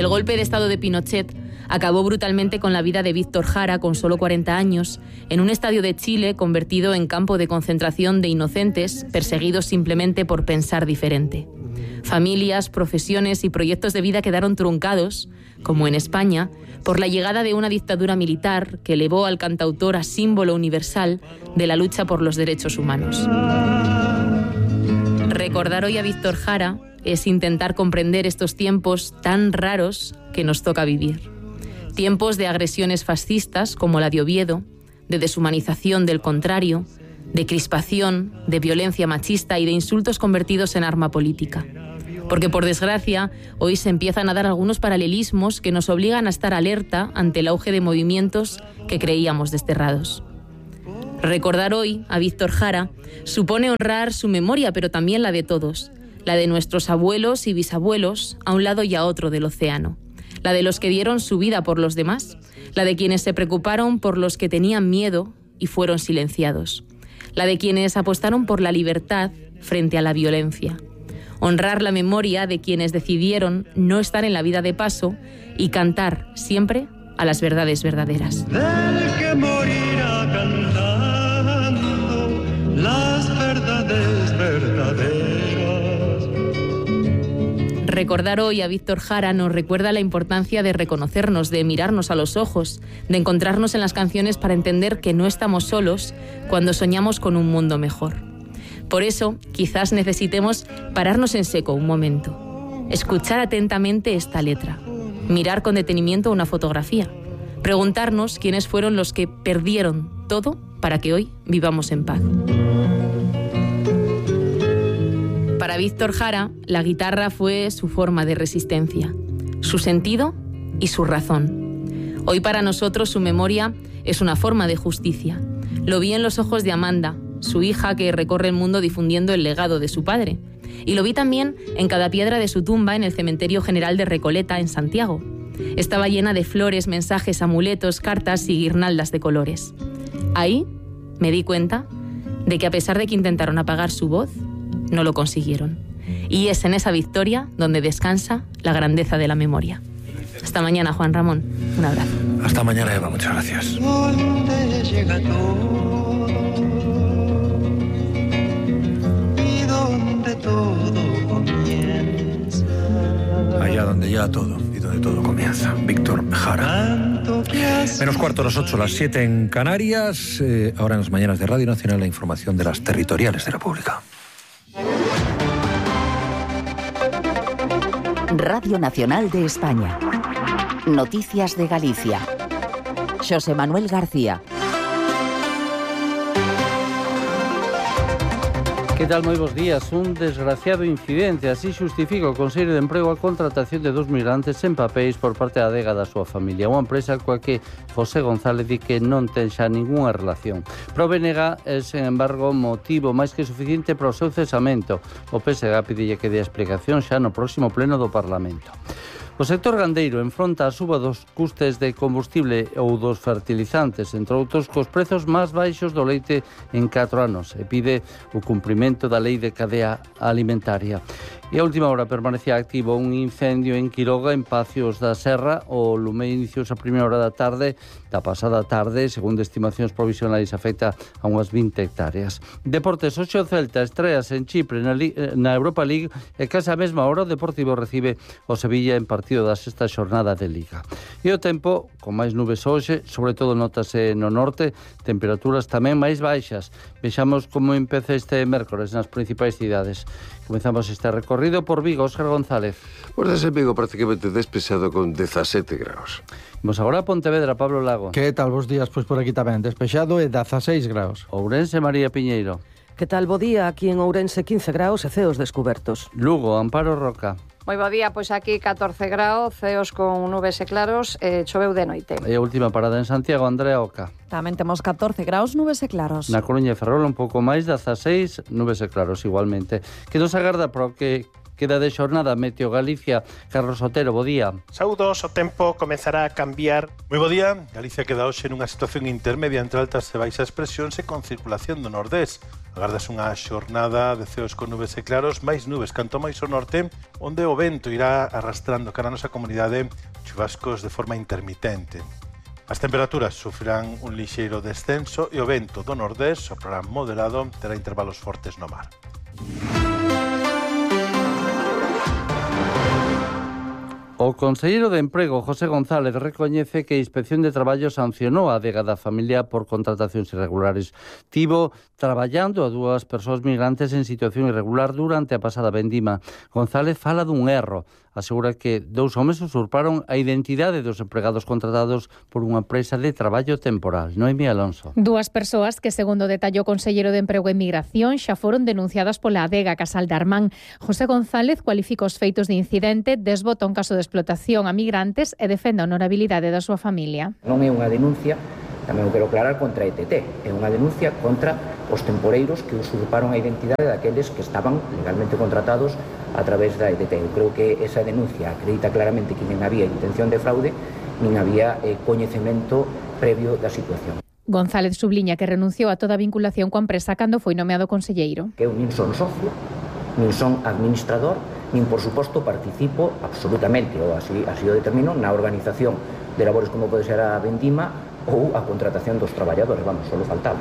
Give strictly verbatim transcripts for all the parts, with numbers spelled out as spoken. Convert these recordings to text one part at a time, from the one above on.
El golpe de Estado de Pinochet acabó brutalmente con la vida de Víctor Jara, con solo cuarenta años, en un estadio de Chile convertido en campo de concentración de inocentes perseguidos simplemente por pensar diferente. Familias, profesiones y proyectos de vida quedaron truncados, como en España, por la llegada de una dictadura militar que elevó al cantautor a símbolo universal de la lucha por los derechos humanos. Recordar hoy a Víctor Jara es intentar comprender estos tiempos tan raros que nos toca vivir. Tiempos de agresiones fascistas como la de Oviedo, de deshumanización del contrario, de crispación, de violencia machista y de insultos convertidos en arma política. Porque, por desgracia, hoy se empiezan a dar algunos paralelismos que nos obligan a estar alerta ante el auge de movimientos que creíamos desterrados. Recordar hoy a Víctor Jara supone honrar su memoria, pero también la de todos, la de nuestros abuelos y bisabuelos a un lado y a otro del océano, la de los que dieron su vida por los demás, la de quienes se preocuparon por los que tenían miedo y fueron silenciados, la de quienes apostaron por la libertad frente a la violencia. Honrar la memoria de quienes decidieron no estar en la vida de paso y cantar siempre a las verdades verdaderas. Del que morirá cantando las verdades verdaderas. Recordar hoy a Víctor Jara nos recuerda la importancia de reconocernos, de mirarnos a los ojos, de encontrarnos en las canciones para entender que no estamos solos cuando soñamos con un mundo mejor. Por eso, quizás necesitemos pararnos en seco un momento, escuchar atentamente esta letra, mirar con detenimiento una fotografía, preguntarnos quiénes fueron los que perdieron todo para que hoy vivamos en paz. Para Víctor Jara, la guitarra fue su forma de resistencia, su sentido y su razón. Hoy para nosotros su memoria es una forma de justicia. Lo vi en los ojos de Amanda, su hija que recorre el mundo difundiendo el legado de su padre. Y lo vi también en cada piedra de su tumba en el Cementerio General de Recoleta, en Santiago. Estaba llena de flores, mensajes, amuletos, cartas y guirnaldas de colores. Ahí me di cuenta de que a pesar de que intentaron apagar su voz, no lo consiguieron. Y es en esa victoria donde descansa la grandeza de la memoria. Hasta mañana, Juan Ramón. Un abrazo. Hasta mañana, Eva. Muchas gracias. ¿Dónde llega todo? ¿Y dónde todo comienza? Allá donde ya todo y donde todo comienza. Víctor Jara. Menos cuarto a las ocho, las siete en Canarias. Eh, ahora en las mañanas de Radio Nacional la información de las territoriales de la República. Radio Nacional de España. Noticias de Galicia. Xosé Manuel García. Que tal, moi bons días? Un desgraciado incidente así xustifica o Consello de Emprego a contratación de dos migrantes sen papéis por parte da adega da súa familia. Unha empresa coa que José González di que non ten xa ningunha relación. Pero o B N G é, sen embargo, motivo máis que suficiente para o seu cesamento. O P S G pide que dé explicación xa no próximo pleno do Parlamento. O sector gandeiro enfronta a suba dos custes de combustible ou dos fertilizantes, entre outros, cos prezos máis baixos do leite en catro anos, e pide o cumprimento da lei de cadea alimentaria. E a última hora permanecía activo un incendio en Quiroga, en Pacios da Serra. O lume iniciouse a primeira hora da tarde, da pasada tarde, segundo estimacións provisionais, afecta a unhas vinte hectáreas. Deportes, hoxe o Celta estreas en Chipre na, na Europa League e case a mesma hora o Deportivo recibe o Sevilla en partido da sexta xornada de Liga. E o tempo, con máis nubes hoxe, sobre todo notase no norte, temperaturas tamén máis baixas. Vexamos como empeza este mércores nas principais cidades. Comezamos este recorrido por Vigo. Óscar González. Pues desde Vigo prácticamente despexado con dezasete graus. Vamos agora a Pontevedra, Pablo Lago. Que tal, bos días? Pois por aquí tamén despexado e dezaseis graus. Ourense, María Piñeiro. Que tal, bo día? Aquí en Ourense quince graus e ceos descubertos. Lugo, Amparo Roca. Moi bo día, pois aquí catorce graus, ceos con nubes e claros, e choveu de noite. E a última parada en Santiago, Andrea Oca. Tamén temos catorce graus, nubes e claros. Na Coruña e Ferrol un pouco máis, dezaseis, nubes e claros igualmente. Que nos agarda para o que queda de xornada Meteo Galicia. Carlos Otero, bo día. Saúdos, o tempo comezará a cambiar. Moi bo día. Galicia queda hoxe nunha situación intermedia entre altas e baixas presións e con circulación do nordés. Agardas unha xornada de ceos con nubes e claros, máis nubes canto máis ao norte, onde o vento irá arrastrando cara a nosa comunidade chuvascos de forma intermitente. As temperaturas sufrirán un lixeiro descenso e o vento do nordés soprará moderado, terá intervalos fortes no mar. O conselleiro de Emprego, José González, recoñece que a Inspección de Traballo sancionou a adega da familia por contratacións irregulares. Tivo traballando a dúas persoas migrantes en situación irregular durante a pasada vendima. González fala dun erro. Asegura que dous homes usurparon a identidade dos empregados contratados por unha empresa de traballo temporal. Noemí Alonso. Dúas persoas que, segundo detallou o conselleiro de Emprego e Migración, xa foron denunciadas pola adega Casal de Armán. José González cualifica os feitos de incidente, desbota un caso de explotación a migrantes e defende a honorabilidade da súa familia. Non é unha denuncia, tamén o quero aclarar, contra a E T T. É unha denuncia contra os temporeiros que usurparon a identidade daqueles que estaban legalmente contratados a través da E T T. Eu creo que esa denuncia acredita claramente que nin había intención de fraude, nin había eh, coñecemento previo da situación. González subliña que renunciou a toda vinculación coa empresa cando foi nomeado conselleiro. Que eu nin son socio, nin son administrador, nin, por suposto, participo absolutamente, ou así, así o determino, na organización de labores como pode ser a vendima ou a contratación dos traballadores, vamos, solo faltaba.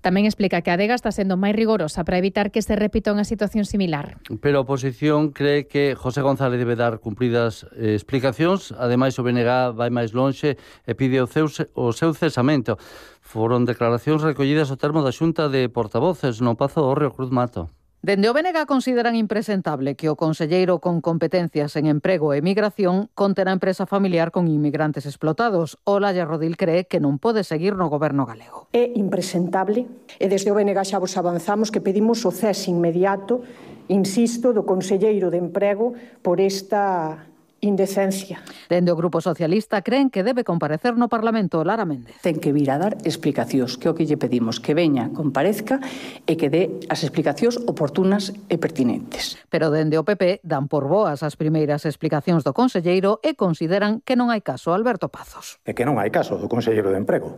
Tamén explica que a adega está sendo máis rigorosa para evitar que se repita unha situación similar. Pero a oposición cree que José González debe dar cumpridas eh, explicacións. Ademais, o B N G vai máis lonxe e pide o seu, o seu cesamento. Foron declaracións recollidas ao termo da Xunta de Portavoces no Pazo do Río Cruz Mato. Dende o B N G consideran impresentable que o conselleiro con competencias en emprego e migración conte na empresa familiar con inmigrantes explotados. Olalla Rodil cree que non pode seguir no goberno galego. É impresentable e desde o B N G xa vos avanzamos que pedimos o cese inmediato, insisto, do conselleiro de emprego por esta indecencia. Dende o Grupo Socialista creen que debe comparecer no Parlamento Lara Méndez. Ten que vir a dar explicacións, que é o que lle pedimos, que veña, comparezca e que dé as explicacións oportunas e pertinentes. Pero dende o P P dan por boas as primeiras explicacións do conselleiro e consideran que non hai caso Alberto Pazos. É que non hai caso do conselleiro de Emprego,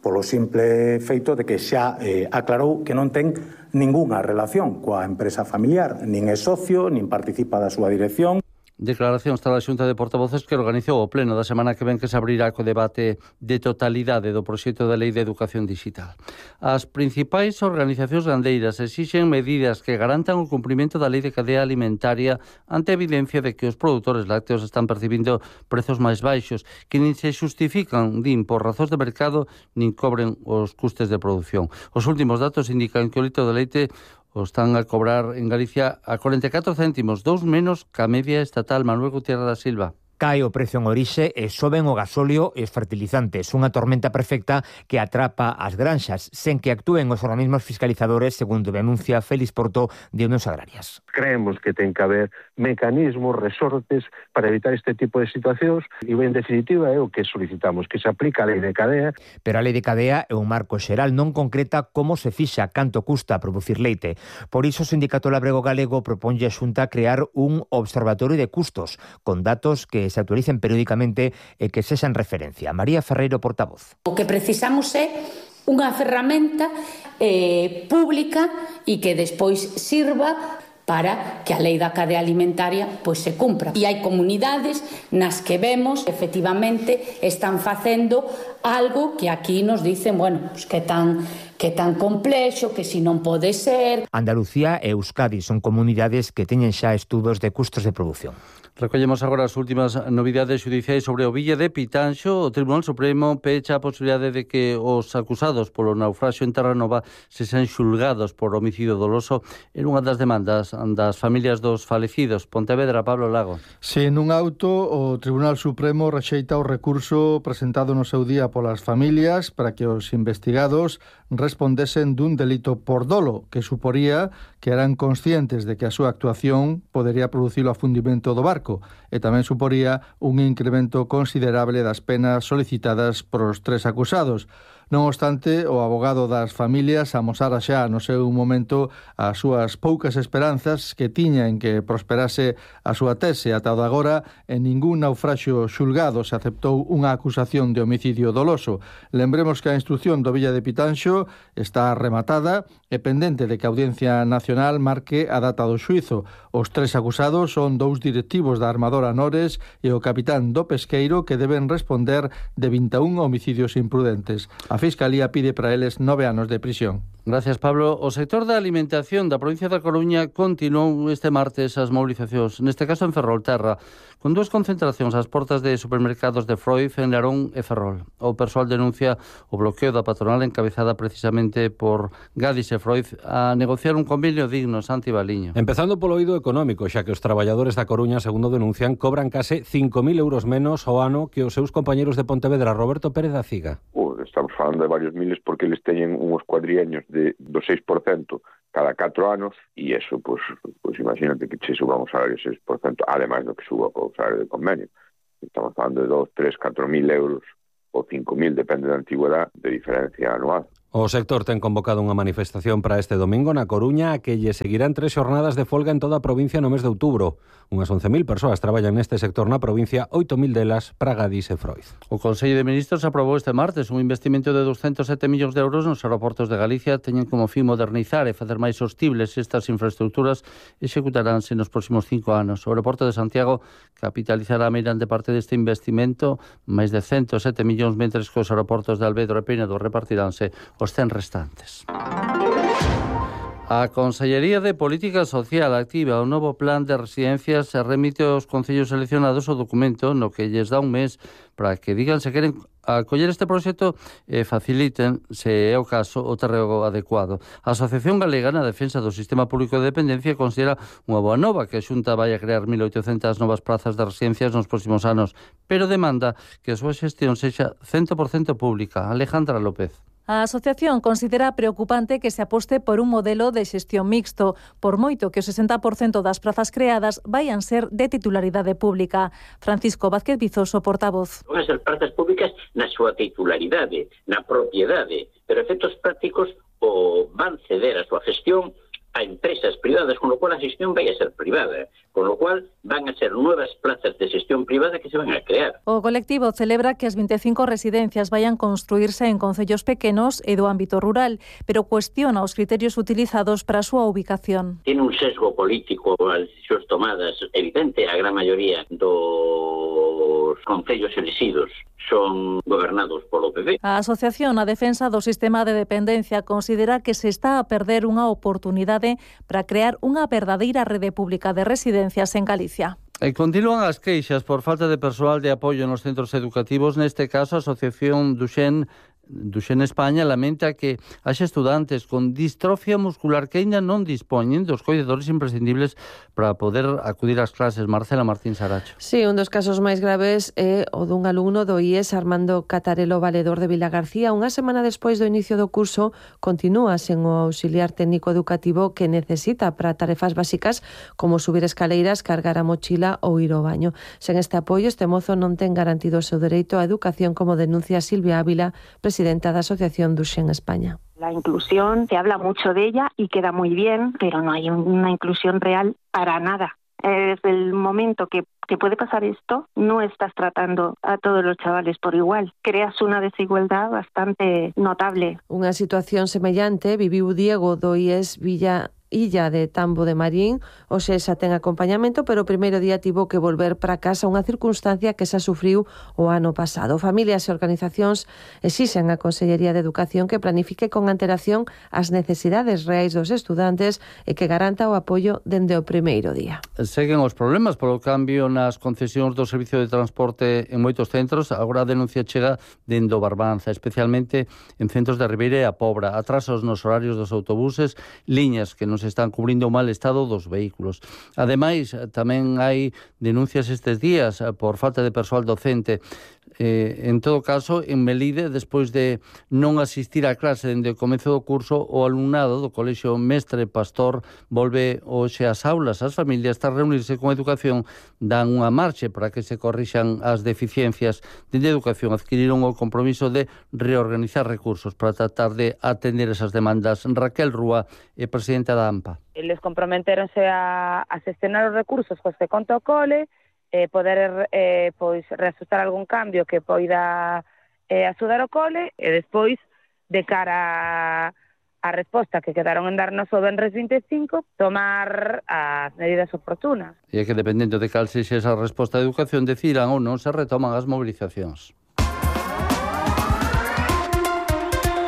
polo simple feito de que xa eh, aclarou que non ten ningunha relación coa empresa familiar, nin é socio, nin participa da súa dirección. Declaración está da Xunta de Portavoces que organizou o pleno da semana que ven que se abrirá co debate de totalidade do proxecto de Lei de Educación Digital. As principais organizacións gandeiras exixen medidas que garantan o cumprimento da Lei de Cadea Alimentaria ante a evidencia de que os produtores lácteos están percibindo prezos máis baixos que nin se justifican, din, por razóns de mercado nin cobren os custes de produción. Os últimos datos indican que o litro de leite o están a cobrar en Galicia a cuarenta e catro céntimos, dous menos que a media estatal. Manuel Gutiérrez da Silva. Cae o prezo en orixe e soben o gasóleo e os fertilizantes. Unha tormenta perfecta que atrapa as granxas sen que actúen os organismos fiscalizadores, segundo denuncia Félix Porto de Unións Agrarias. Creemos que ten que haber mecanismos, resortes para evitar este tipo de situacións e, en definitiva, é o que solicitamos, que se aplica a Lei de Cadea. Pero a Lei de Cadea é un marco xeral, non concreta como se fixa, canto custa producir leite. Por iso o Sindicato Labrego Galego proponlle a Xunta crear un observatorio de custos con datos que se actualicen periódicamente e que sexan referencia. María Ferreiro, portavoz. O que precisamos é unha ferramenta eh, pública e que despois sirva para que a lei da cadea alimentaria pois se cumpra. E hai comunidades nas que vemos, efectivamente, están facendo algo que aquí nos dicen, bueno, pues que tan que tan complexo, que si non pode ser. Andalucía e Euskadi son comunidades que teñen xa estudos de custos de produción. Recollemos agora as últimas novidades xudiciais sobre o Villa de Pitanxo. O Tribunal Supremo pecha a posibilidade de que os acusados polo naufraxio en Terranova se sean xulgados por homicidio doloso en unha das demandas das familias dos falecidos. Pontevedra, Pablo Lago. Se nun auto, o Tribunal Supremo rexeita o recurso presentado no seu día polas familias para que os investigados respondesen dun delito por dolo, que suporía que eran conscientes de que a súa actuación podería producir o afundimento do barco e tamén suporía un incremento considerable das penas solicitadas por os tres acusados. Non obstante, o abogado das familias amosara xa no seu momento as súas poucas esperanzas que tiña en que prosperase a súa tese. Ata de agora, en ningún naufraxio xulgado se aceptou unha acusación de homicidio doloso. Lembremos que a instrucción do Villa de Pitanxo está rematada e pendente de que a Audiencia Nacional marque a data do xuízo. Os tres acusados son dous directivos da armadora Nores e o capitán do pesqueiro que deben responder de vinte e un homicidios imprudentes. A Fiscalía pide para eles nove anos de prisión. Gracias, Pablo. O sector da alimentación da provincia da Coruña continuou este martes as movilizacións, neste caso en Ferrolterra, con dúas concentracións ás portas de supermercados de Freud, en Larón e Ferrol. O persoal denuncia o bloqueo da patronal encabezada precisamente por Gadis e Freud a negociar un convenio digno. Santi Baliño. Empezando polo eido económico, xa que os traballadores da Coruña, segundo denuncian, cobran case cinco mil euros menos ao ano que os seus compañeros de Pontevedra. Roberto Pérez da Ciga. Uh, estamos falando de varios miles porque eles teñen uns cuadriaños de, do seis por cento cada catro anos e eso, pois, pois imagínate que se suba o salario seis por cento, ademais do que suba o salario de convenio. Estamos falando de dos, tres, catro mil euros ou cinco mil, depende da antigüedade, de diferencia anual. O sector ten convocado unha manifestación para este domingo na Coruña, a que lle seguirán tres xornadas de folga en toda a provincia no mes de outubro. Unhas once mil persoas traballan neste sector na provincia, oito mil delas para Gadis e Freud. O Consello de Ministros aprobou este martes un investimento de doscientos sete millóns de euros nos aeroportos de Galicia. Teñen como fin modernizar e facer máis sostibles estas infraestructuras e executaránse nos próximos cinco anos. O aeroporto de Santiago capitalizará mediante parte deste investimento máis de cento sete millóns, mentres que os aeroportos de Alvedro e Penedo repartiránse os cen restantes. A Consellería de Política Social activa o novo plan de residencias e remite aos concellos seleccionados o documento no que lles dá un mes para que digan se queren acoller este proxecto e faciliten, se é o caso, o terreo adecuado. A Asociación Galega na Defensa do Sistema Público de Dependencia considera unha boa nova que a Xunta vai a crear mil oitocentas novas plazas de residencias nos próximos anos, pero demanda que a súa xestión sexa cen por cento pública. Alejandra López. A asociación considera preocupante que se aposte por un modelo de xestión mixto, por moito que o sesenta por cento das prazas creadas vayan ser de titularidade pública. Francisco Vázquez Vizoso, portavoz. Van a ser prazas públicas na súa titularidade, na propiedade, pero efectos prácticos o van ceder a súa gestión a empresas privadas, con lo cual a xestión vai a ser privada, con lo cual van a ser nuevas plazas de xestión privada que se van a crear. O colectivo celebra que as vinte e cinco residencias vayan construirse en concellos pequenos e do ámbito rural, pero cuestiona os criterios utilizados para a súa ubicación. Tiene un sesgo político as decisións tomadas evidente, a gran maioría dos concellos elixidos son gobernados polo P P. A Asociación a Defensa do Sistema de Dependencia considera que se está a perder unha oportunidade para crear unha verdadeira rede pública de residencias en Galicia. E continúan as queixas por falta de persoal de apoio nos centros educativos. Neste caso, a Asociación Duxen Duxen España lamenta que haxa estudantes con distrofia muscular que aínda non dispoñen dos coidadores imprescindibles para poder acudir ás clases. Marcela Martín Saracho. Sí, un dos casos máis graves é o dun alumno do I E S, Armando Catarelo Valedor de Vilagarcía. Unha semana despois do inicio do curso continúa sen o auxiliar técnico educativo que necesita para tarefas básicas como subir escaleiras, cargar a mochila ou ir ao baño. Sen este apoio, este mozo non ten garantido o seu dereito á educación, como denuncia Silvia Ávila, presidenta presidenta da Asociación Duxen España. La inclusión, se habla mucho de ella y queda muy bien, pero no hay una inclusión real para nada. Desde el momento que, que puede pasar esto, no estás tratando a todos los chavales por igual. Creas una desigualdad bastante notable. Unha situación semellante viviu Diego do I E S Villa Illa de Tambo de Marín. Hoxe xa ten acompañamento, pero o primeiro día tivo que volver para casa, unha circunstancia que xa sufriu o ano pasado. Familias e organizacións exixen á Consellería de Educación que planifique con antelación as necesidades reais dos estudantes e que garanta o apoio dende o primeiro día. Seguen os problemas polo cambio nas concesións do servicio de transporte en moitos centros. Agora a denuncia chega dende o Barbanza, especialmente en centros de Ribeira e a Pobra. Atrasos nos horarios dos autobuses, liñas que non se están cubrindo o mal estado dos vehículos. Ademais, tamén hai denuncias estes días por falta de persoal docente. Eh, en todo caso, en Melide, despois de non asistir á clase dende o comezo do curso, o alumnado do Colexio Mestre Pastor volve hoxe ás aulas. As familias, tras reunirse con Educación, dan unha marche para que se corrixan as deficiencias. Dende Educación adquiriron o compromiso de reorganizar recursos para tratar de atender esas demandas. Raquel Rúa é presidenta da AMPA. Eles comprometeronse a, a xestionar os recursos cos que conta o cole, eh, poder eh, pois reajustar algún cambio que poida eh, axudar o cole e despois, de cara a, a resposta que quedaron en darnos o venres vinte e cinco, tomar as medidas oportunas. E é que, dependendo de cal sexa esa resposta de Educación, decidan ou non se retoman as movilizacións.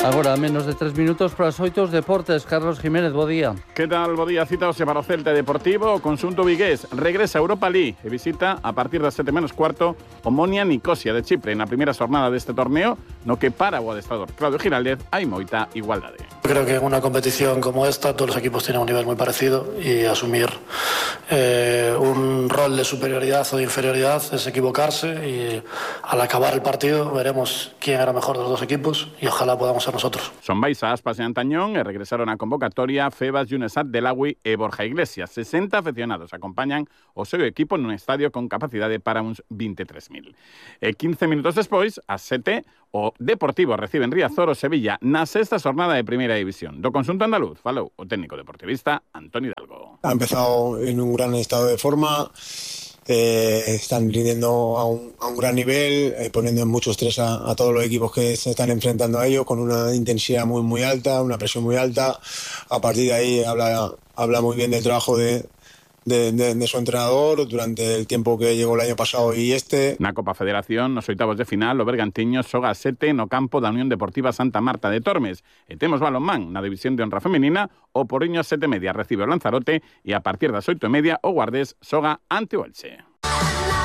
Agora, a menos de tres minutos para as oito, os deportes. Carlos Jiménez, bo día. Que tal, bo día? Citaose para o Celta Deportivo. O conxunto vigués regresa a Europa League e visita a partir das sete menos cuarto o Monia Nicosia de Chipre na primeira xornada deste torneo, no que para o adestrador Claudio Giraldez hai moita igualdade. Creo que en una competición como esta todos los equipos tienen un nivel muy parecido y asumir eh, un rol de superioridad o de inferioridad es equivocarse, y al acabar el partido veremos quién era mejor de los dos equipos y ojalá podamos ser nosotros. Son Baiza, Aspas e Antañón e regresaron a convocatoria Febas, Yunesat, Delagui e Borja Iglesias. sesenta aficionados acompañan o seu equipo nun estadio con capacidade para uns veintitrés mil. E quince minutos despois, ás sete, o Deportivo recibe en Riazor o Sevilla na sexta xornada de Primeira División. Do conxunto andaluz falou o técnico deportivista Antonio Hidalgo. Ha empezado en un gran estado de forma, eh, están rindiendo a un, a un gran nivel, eh, poniendo mucho estrés a, a todos los equipos que se están enfrentando a ellos, con una intensidad muy muy alta, una presión muy alta. A partir de ahí habla, habla muy bien del trabajo de De, de, de su entrenador durante el tiempo que llegó el año pasado y este. Na Copa Federación, nos oitavos de final, o Bergantiños xoga a sete no campo da Unión Deportiva Santa Marta de Tormes. E temos balonmán na división de honra femenina, o Porriño sete e media recibe o Lanzarote e a partir das oito e media o Guardés xoga ante o Elche.